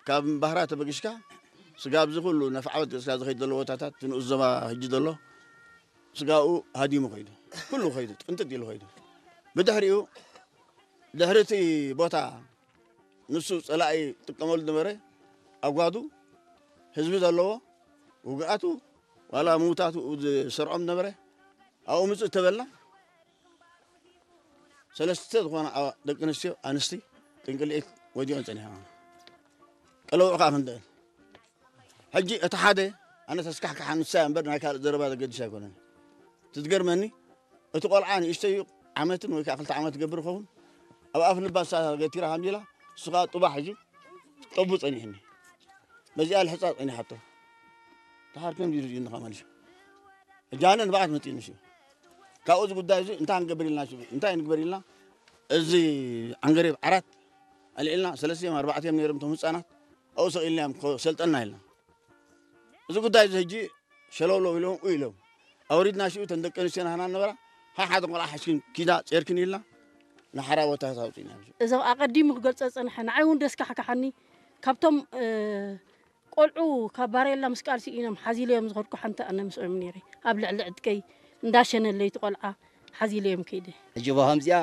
ካብ እምባህራ ተበጊስካ ስጋብ እዚ ኩሉ ነፍዓበት ገጽካ ዝኸይድ ዘሎ ቦታታት፣ እቲ ንኡስ ዞባ ሕጂ ዘሎ ስጋኡ ሃዲሙ ኸይዱ፣ ኩሉ ኸይዱ፣ ጥንጥጥ ኢሉ ኸይዱ። ብድሕሪኡ፣ ድሕሪ እቲ ቦታ ንሱ ጸላኢ ጥቀመሉ ዝነበረ ኣጓዱ፣ ህዝቢ ዘለዎ፣ ውግኣቱ፣ ዋላ ምውታቱ ዝሰርዖም ነበረ፣ ኣብኡ ምጽእ ተበልና፣ ሰለስተ ዝኾና ኣዋ-፣ ደቂ ኣንስትዮ፣ ኣንስቲ፣ ጥንቅልዒት ወዲቐን ጸኒሐን። ቀለውዕ ከኣ ክንደአን። ሕጂ እቲ ሓደ፣ ኣነ ተስካሕክሓ ንሳ እያ እምበር፣ ናይ ካልእ ዘረባ ዘገድስ ኣይኮነን። እቲ ዝገርመኒ፣ እቲ ቆልዓ ንእሽተይ እዩ፣ ዓመትን ወይ ከኣ ክልተ ዓመት ትገብር ይኸውን። ኣብ ኣፍ ልባ ንሳ ገቲራ ከምዚ ኢላ፣ ንሱ ከኣ ጡባ ሒዙ፣ ጠቡ ጸኒሕኒ። በዚኣ ልሕጻ ጸኒሓቶ። ደሓር ከምዚ ኢሉ እዩ እንኻ መሊሱ። ሕጂ ኣነ ንብዓት መጺእኒ ሽዑ። ካብኡ እዚ ጉዳይ እዚ እንታይ ክንገብር ኢልና ሽዑ፣ እንታይ ንግበር ኢልና፣ እዚ ዓንገሬብ ዓራት ኣልዒልና፣ ሰለስተ እዮም ኣርባዕተ እዮም ነይሮም እቶም ህጻናት፣ ኣብኡ ሰቒልናዮም፣ ኮ-፣ ሰልጠና ኢልና። እዚ ጉዳይ እዚ ሕጂ ሸለውለው ኢሎም፣ ኡ ኢሎም። ኣውሪድና ሽዑ እተን ደቂ ኣንስትዮና ሃና ነበራ፣ ሓ-፣ ሓደ ቆልዓ ሓሽኪን ኪዳ ጼርክን ኢልና፣ ንሓራ ቦታ ኣውጺእና። እዞም ኣቐዲሙ ክገልጾ ዝጸንሐ፣ ንዓይ እውን ደስካሕካሓኒ፣ ካብቶም፣ እ፣ ቆልዑ ካብ ባሬላ ምስ ቃልሲ ኢኖም ሓዚለዮም ዝኸድኩ ሓንቲ ኣነ ምስኦም ነይረ። ኣብ ልዕሊ ዕጥቀይ እንዳሸነለይ እቲ ቆልዓ ሓዚለዮም ከይደ። ሕጂ እባ ከምዚኣ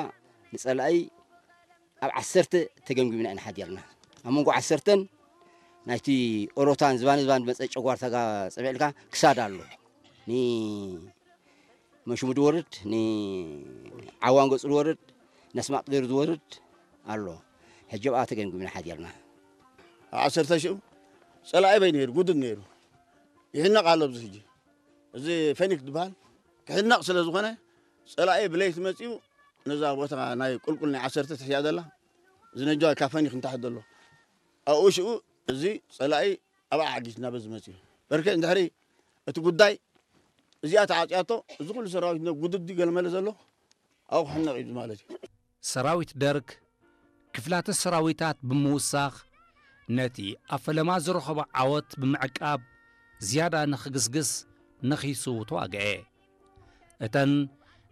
ንጸላኢ ኣብ ዓሰርተ ተገምጊምና ኢና ሓዲርና። ኣብ መንጎ ዓሰርተን ናይቲ ኦሮታን ዝባን ዝባን ዝመጸ ጨጓርታ ጋ-፣ ጸብዕልካ ክሳድ ኣሎ። ኒ መሽሙ ዝወርድ፣ ንዓዋን ገጹ ዝወርድ፣ ነስማጥ ገይሩ ዝወርድ ኣሎ። ሕጂ ኣብኣ ተገምጊምና ሓዲርና። ኣብ ዓሰርተ ሽዑ ጸላኢ በይ ነይሩ፣ ጉድድ ነይሩ። ይሕነቕ ኣሎ ኣብዚ ሕጂ። እዚ ፈኒክ ዝበሃል ክሕነቕ ስለ ዝኾነ፣ ጸላኢ ብለይቲ መጺኡ ነዛ ቦታ ናይ ቁልቁል ናይ ዓሰርተ ትሕያ ዘላ፣ እዚ ነጃ ካብ ፈኒክ ንታሕቲ ዘሎ። ኣብኡ ሽዑ እዚ ጸላኢ ኣብኣ ዓጊትና በዚ መጺኡ። በርከ እንድሕሪ እቲ ጉዳይ እዚኣ ተዓጽያቶ፣ እዚ ኩሉ ሰራዊት ነ-፣ ጉድዲ ገለመለ ዘሎ ኣብኡ ክሕነቕ እዩ ማለት እዩ። ሰራዊት ደርግ ክፍላተ ሰራዊታት ብምውሳኽ፣ ነቲ ኣብ ፈለማ ዝረኸቦ ዓወት ብምዕቃብ፣ ዝያዳ ንኽግስግስ ነኺሱ ተዋግኤ። እተን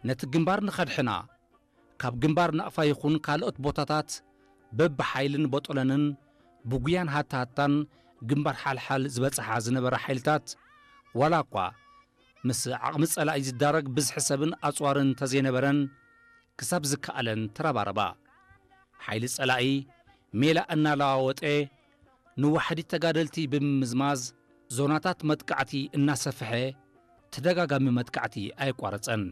ነቲ ግንባር ንኸድሕና፣ ካብ ግንባር ናቕፋ ይኹን ካልኦት ቦታታት በብሓይልን ቦጦለንን ብጉያን ሃታሃታን ግንባር ሓልሓል ዝበጽሓ ዝነበራ ሓይልታት፣ ዋላ እኳ ምስ ዓቕሚ ጸላኢ ዝዳረግ ብዝሒ ሰብን ኣጽዋርን እንተዘይነበረን፣ ክሳብ ዝከኣለን ተረባረባ። ሓይሊ ጸላኢ ሜላ እናለዋወጠ፣ ንዋሕዲ ተጋደልቲ ብምምዝማዝ፣ ዞናታት መጥቃዕቲ እናሰፍሐ፣ ተደጋጋሚ መጥቃዕቲ ኣየቋረጸን።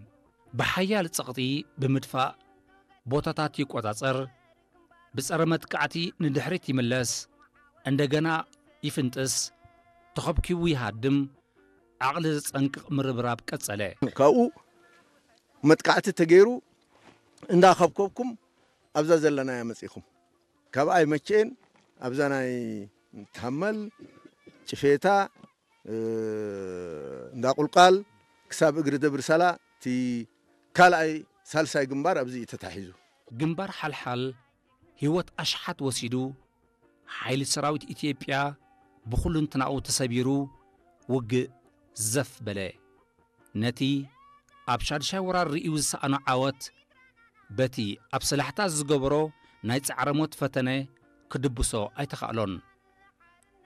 ብሓያል ጸቕጢ ብምድፋእ ቦታታት ይቆጻጸር፣ ብጸረ መጥቃዕቲ ንድሕሪት ይምለስ፣ እንደገና ይፍንጥስ፣ ተኸብኪቡ ይሃድም፣ ዓቕሊ ዘጸንቅቕ ምርብራብ ቀጸለ። ካብኡ መጥቃዕቲ ተገይሩ እንዳኸብከብኩም ኣብዛ ዘለናያ መጺኹም። ካብኣ ኣይመቸኤን ኣብዛ ናይ ታመል፣ ጭፌታ፣ እ፣ እንዳ ቁልቋል ክሳብ እግሪ ደብሪ ሳላ እቲ ካልኣይ ሳልሳይ ግንባር ኣብዚ እዩ ተታሒዙ። ግንባር ሓልሓል ህይወት ኣሽሓት ወሲዱ፣ ሓይሊ ሰራዊት ኢትዮጵያ ብኹልንትናኡ ተሰቢሩ፣ ውግእ ዘፍ በለ። ነቲ ኣብ ሻድሻይ ወራር ርእዩ ዝሰኣኖ ዓወት፣ በቲ ኣብ ሰላሕታ ዝገበሮ ናይ ጻዕረ ሞት ፈተነ ክድብሶ ኣይተኻእሎን።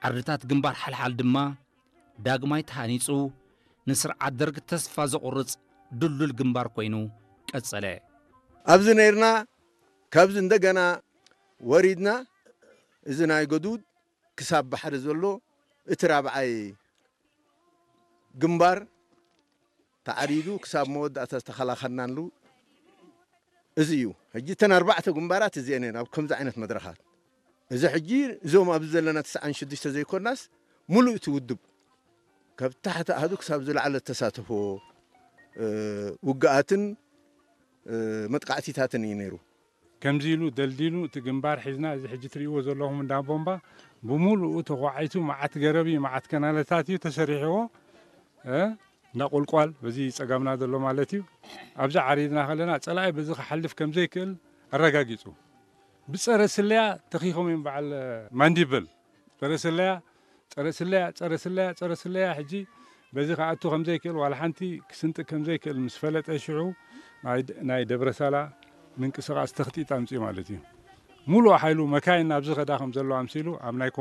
ዓርድታት ግንባር ሓልሓል ድማ ዳግማይ ተሃኒጹ፣ ንስርዓት ደርግ ተስፋ ዘቑርጽ ድልዱል ግንባር ኮይኑ ቀጸለ። ኣብዚ ነይርና፣ ካብዚ እንደገና ወሪድና፣ እዚ ናይ ገዱድ ክሳብ ባሕሪ ዘሎ እቲ ራብዓይ ግንባር ተዓሪዱ ክሳብ መወዳእታ ዝተኸላኸልናሉ እዚ እዩ። ሕጂ እተን ኣርባዕተ ግንባራት እዚአን እየን ኣብ ከምዚ ዓይነት መድረኻት። እዚ ሕጂ እዞም ኣብዚ ዘለና ትስዓን ሽዱሽተ ዘይኮናስ፣ ሙሉእ እቲ ውድብ ካብ ታሕቲ ኣሃዱ ክሳብ ዝለዓለ እተሳተፎ፣ እ፣ ውግኣትን፣ እ፣ መጥቃዕቲታትን እዩ ነይሩ። ከምዚ ኢሉ ደልዲሉ እቲ ግንባር ሒዝና፣ እዚ ሕጂ ትርእይዎ ዘለኹም እንዳ ቦምባ ብምሉኡ ተዃዒቱ፣ መዓት ገረብ እዩ፣ መዓት ከናለታት እዩ ተሰሪሕዎ። እ፣ እንዳ ቁልቋል በዚ ጸጋምና ዘሎ ማለት እዩ። ኣብዚ ዓሪድና ከለና ጸላኢ በዚ ክሓልፍ ከም ዘይክእል ኣረጋጊጹ። ብጸረ ስለያ ተኺኾም እዮም፣ በዓል ማንዲብል። ጸረ ስለያ፣ ጸረ ስለያ፣ ጸረ ስለያ፣ ጸረ ስለያ። ሕጂ በዚ ክኣቱ ከም ዘይክእል፣ ዋላ ሓንቲ ክስንጥቅ ከም ዘይክእል ምስ ፈለጠ፣ ሽዑ ናይ ደ-፣ ናይ ደብረሳላ ምንቅስቓስ ተኽጢጥ ኣምጺኡ ማለት እዩ። ሙሉእ ሓይሉ መካይን ናብዚ ከዳ ከም ዘለዋ ኣምሲሉ ኣብ ናይ ኮም-፣